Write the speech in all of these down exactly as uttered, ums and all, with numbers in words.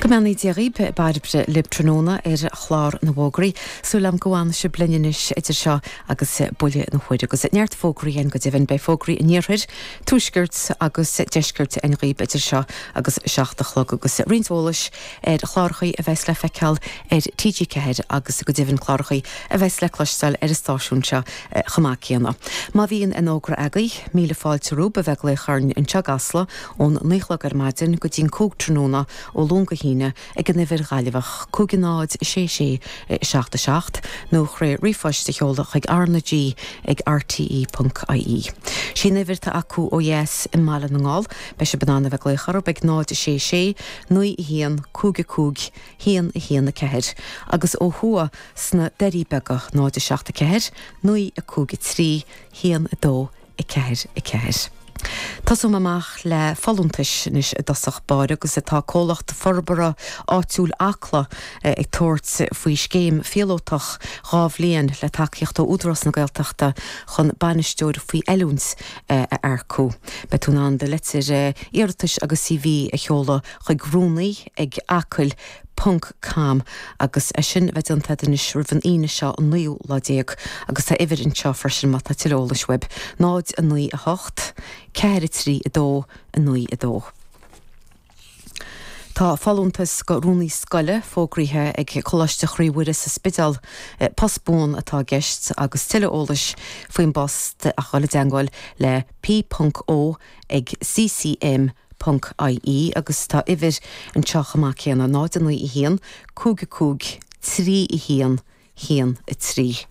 Go mbeannaí Dia dhaoibh Bairbre libh tráthnóna ar chlár na bhfógraí. Súil agam go bhfanfaidh sibh linn anois idir seo agus buille na huaire agus neart fógraí againn go deimhin beidh fógraí an iarthair, tuaiscirt agus deiscirt againn dhaoibh idir seo agus seacht a chlog agus roinnt eolais ar chláracha a bheas le feiceáil ar TG Ceathair agus go deimhin cláracha a bheas le cloisteáil ar an stáisiún seo chomh maith céanna. Má bhíonn aon fhógra agaibh míle fáilte romhaibh a bheith ag glaoch orainn anseo i gCasla ón naoi a chlog ar maidin go dtí'n cúig tráthnóna ó Luan go hAoine ag an uimhir Ghaillimheach cúig náid sé sé seacht a seacht nó trí ríomhphost a sheoladh chuig RnaG ag rte.ie. Sí an uimhir atá acu ó dheas i mBaile na nGall, beidh sibh in ann a bheith ag glaoch orthu ag náid sé sé naoi a haon cúig a cúig haon a haon a ceathair agus ó thuaidh sna Doirí Beaga náid a seacht a ceathair naoi a cúig a trí haon a dó a ceathair a ceathair. Tosóidh mé amach le folúntais anois i dtosach báire agus atá comhlacht forbartha áitiúil Acla ag tabhairt faoi scéim phíolótach dhá bhliain le tacaíocht ó Údarás na Gaeltachta chun bainisteoir faoi oiliúint a earcú. Beidh tú in ann do litir iarratais agus CV a sheoladh chuig rúnaí ag acaill ponc com agus é sin bheith déanta anois roimh an Aoine seo an naoú lá déag agus tá uimhir anseo freisin má tá tuilleadh eolais uaibh náid a naoi a hocht, ceathair a trí a dó a naoi a dó. Tá folúntas go rúnaí scoile fógraithe ag Coláiste Chroí Mhuire sa Spidéal post buan atá i gceist agus tuilleadh eolais faoin bpost a dhul i dteagmháil le p.o ag ccm ponc ie agus tá uimhir anseo chomh maith céanna náid a naoi a haon, cúig a cúig, trí a haon, haon a trí.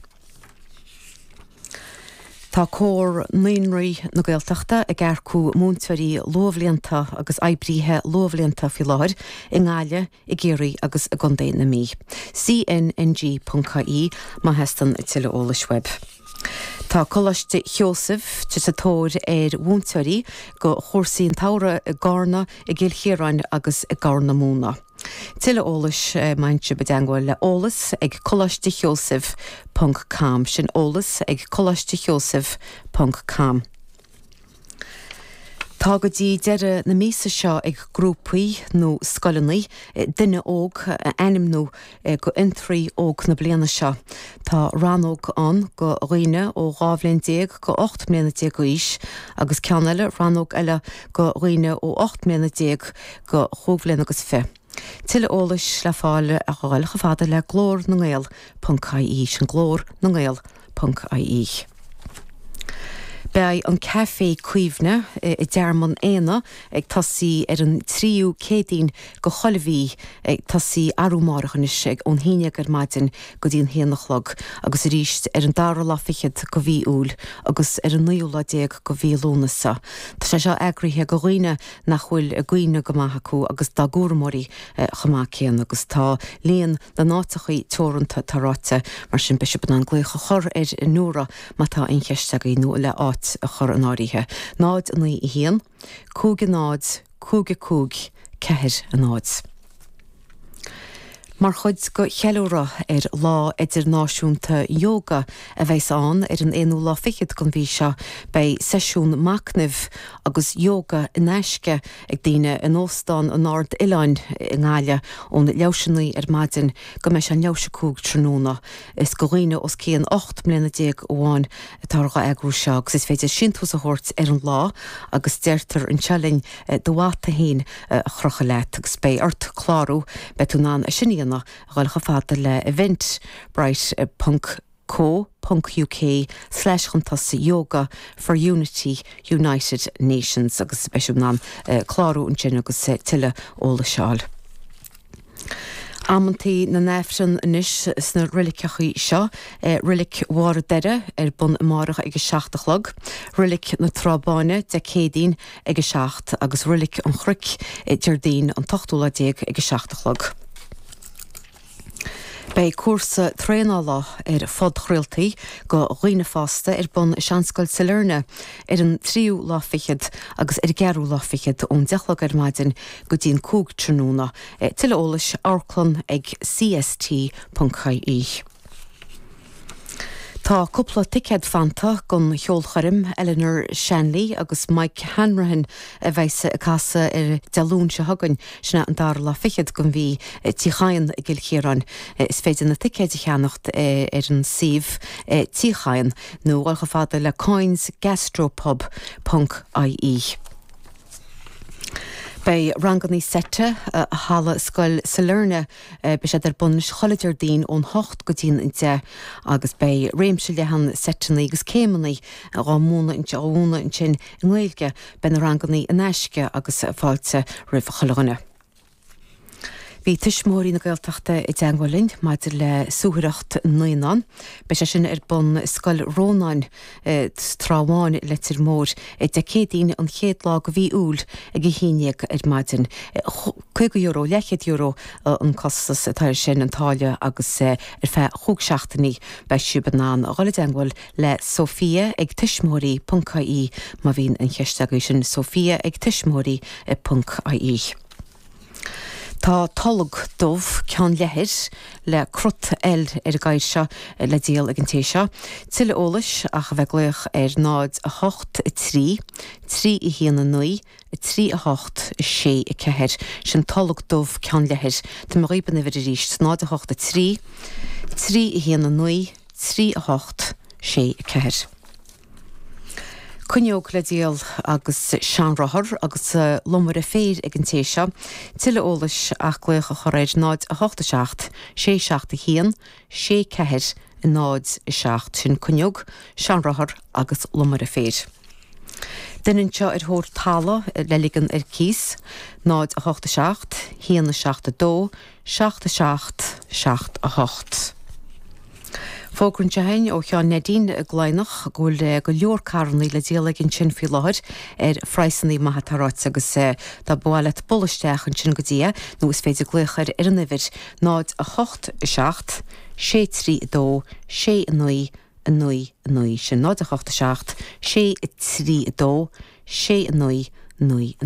Tá Comhar Naíonraí na Gaeltachta ag earcú múinteoirí luathbhlianta agus oibrithe luathbhlianta faoi láthair i nGaillimh, i gCiarraí agus i gContae na Mí. CNNG ponc ie má theastaíonn tuilleadh eolais uaibh. Tá Coláiste Sheosaimh sa tóir ar mhúinteoirí go chúrsaí an tsamhraidh i gCarna, i gCill Chiaráin agus i gCorr na Móna. Tuilleadh eolais má théann sibh i dteagmháil le eolas ag Coláiste Sheosaimh ponc com sin eolas ag Coláiste Sheosaimh ponc com. Tá go dtí deireadh na míosa seo ag grúpaí nó scoileanna duine óg a ainmniú go fhiontraí óg na bliana seo. Tá rannóg ann go dhaoine ó dhá bhliain déag go ocht mbliana déag d'aois agus ceann eile rannóg eile go dhaoine ó ocht mbliana déag go chúig bhliain agus fiche. Tuilleadh eolais le fáil a ghabháil chomh fada le glór na nGael ponc ie sin glór na nGael ponc ie. Beidh an Café Cuimhne i dTearmann Éanna ag tosaí ar an tríú Céadaoin go chuile mhí ag tosaí arú amárach anois ag ón haon déag ar maidin go dtí an haon a chlog agus arís ar an dara lá fichead go mhí Iúil agus ar an naoú lá déag go mhí Lúnasa. Tá sé seo eagraithe go dhaoine nach bhfuil a gcuimhne go maith acu agus dá gcúramóirí chomh maith céanna agus tá líon na n-áiteachaí teoranta tá ráite mar sin beidh sibh in ann glaoch a chur ar Nóra má tá aon cheist agaibh nó le áit a chur in áirithe. Náid a naoi a haon, cúig a náid, cúig a cúig, ceathair a náid. Mar chuid go cheiliúradh ar Lá Idirnáisiúnta Yoga a bheas ann ar an aonú lá fichead den mhí seo, beidh seisiún machnaimh agus yoga in aisce ag daoine in Óstán an Ard Oileáin i nGaillimh ón leathuair théis a naoi ar maidin go mbeidh sé an leathuair théis a cúig tráthnóna. Is go dhaoine os cionn ocht mbliana déag amháin atá á eagrú seo agus is féidir síntiús a thabhairt ar an lá agus deirtear anseo linn do mhata féin a chrochadh leat agus beidh ort clárú beidh tú in ann sin a dhéanamh a dhul chomh fada le eventbrite ponc co ponc uk slash chun tosaigh yoga for unity United Nations agus beidh sibh in ann clárú ansin agus tuilleadh eolais a fháil. Amantaí na nAifreann anois sna reiligeachaí seo, Reilig Bharr an Doire ar bun amárach ag a seacht a chlog, Reilig na Trá Báine Dé Céadaoin ag a seacht agus Reilig an Chnoic Déardaoin an t-ochtú lá déag ag a seacht a chlog. Beidh cúrsa traenála ar phodchraoltaí go dhaoine fásta ar bun i Seanscoil Sailearna ar an tríú lá fichead agus ar an gceathrú lá fichead ón deich a chlog ar maidin go dtí an cúig tráthnóna. Tuilleadh eolais amharclann ag cst.ie. Tá cúpla ticéad fanta don cheolchoirm Eleanor Shanley agus Mike Hanrahan a bheas ag casadh ar Dé Luain seo chugainn sin an dara lá fichead den mhí Tí Chadhain i gCill Chiaráin. Is féidir na ticéid a cheannacht ar an suíomh Tí Chadhain nó dul chomh fada le coins gastropub ponc IE. Beidh ranganna seite i halla Scoil Sailearna beidh siad ar bun chuile Déardaoin ón hocht go dtí an deich agus beidh réimse leathan seiteanna agus céimeanna á múineadh á múineadh ansin i nGaeilge beidh na ranganna in aisce agus fáilte roimh chuile dhuine. Bhí tuismitheoirí na Gaeltachta i dteagmháil linn maidir le suathaireacht naíonán. Beidh sé sin ar bun Scoil Rónáin Trá Bháin Leitir Móir Dé Céadaoin an chéad lá de mhí Iúil ag a haon déag ar maidin. Caoga euro leathchéad euro an costas atá sin an táille agus ar feadh chúig seachtainí beidh sibh in ann dul i dteagmháil le Sophia ag tuismitheoirí ponc IE má bhíonn aon cheist agaibh sin Sophia ag tuismitheoirí ponc IE. Tá tolg dubh ceann leathair le crot L ar an gcathaoir seo le díol ag an té seo. Tuilleadh eolais ach a bheith ag glaoch ar náid a hocht a trí, trí a haon a naoi, a trí a hocht a sé a ceathair, sin tolg dubh ceann leathair. Tá mé dhaoibh an uimhir arís, náid a hocht a trí, trí a haon a naoi, trí a hocht sé a ceathair. Cuinneog le díol agus seanrothar agus lomaire féir ag an té seo. Tuilleadh eolais ach glaoch a chur ar náid a hocht a seacht, sé seacht a haon, sé ceathair náid a seacht sin cuinneog, seanrothar agus lomaire féir. Duine anseo ar thóir talamh le ligean ar cíos, náid a hocht a seacht, haon a seacht a dó, seacht a seacht, seacht a hocht. Fógra anseo againn ó Sheán Neidín i gCladhnach go bhfuil go leor carranna le díol aige ansin faoi láthair ar phraghsanna maithe atá ráite agus dá mba mhaith leat bualadh isteach ansin go dtí é nó is féidir glaoch air ar an uimhir náid a hocht a seacht, sé trí a dó, sé a naoi, a naoi a naoi sin náid a hocht a seacht, sé a trí a dó, sé a naoi, naoi a